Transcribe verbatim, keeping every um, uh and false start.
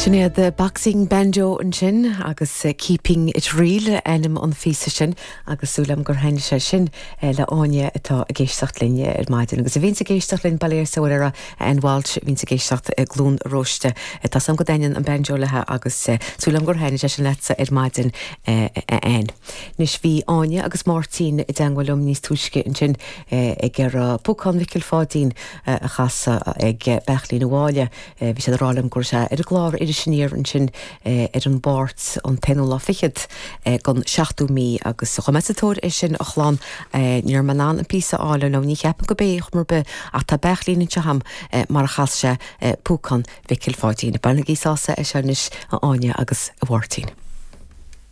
Sin iad Boxing Banjo ansin agus eh, Keeping It Real ainm an phíosa sin agus súil agam gur thaitin sé sin eh, le Áine atá ag éisteacht linn ar maidin. agus a bhíonn ag éisteacht linn Baile sa ar an Walsh bhíonn ag éisteacht Cluain Róiste Tá sam go dtaitníonn an banjo léi agus eh, súil agam gur thaitin sé sin leatsa ar maidin an. Anois bhí Áine agus Máirtín i dteagmháil liom níos túisce ansin ag ar Púcán Mhicil Pháidín a chasadh ag Beachlín bháile bhí sé rálam gur sé ar an gclár Iris Aniar ansin ar an Mháirt an t-aonú lá fichead den seachtú mí agus chuaigh mé sa tóir é sin a chlann níor man an pí áile nó ní cheapan go bé mar be ach tá beachlín anseo agam mar a chas sé Púcán Mhicil Pháidín. Bainigí sásamh as anois a Áine agus a Mháirtín.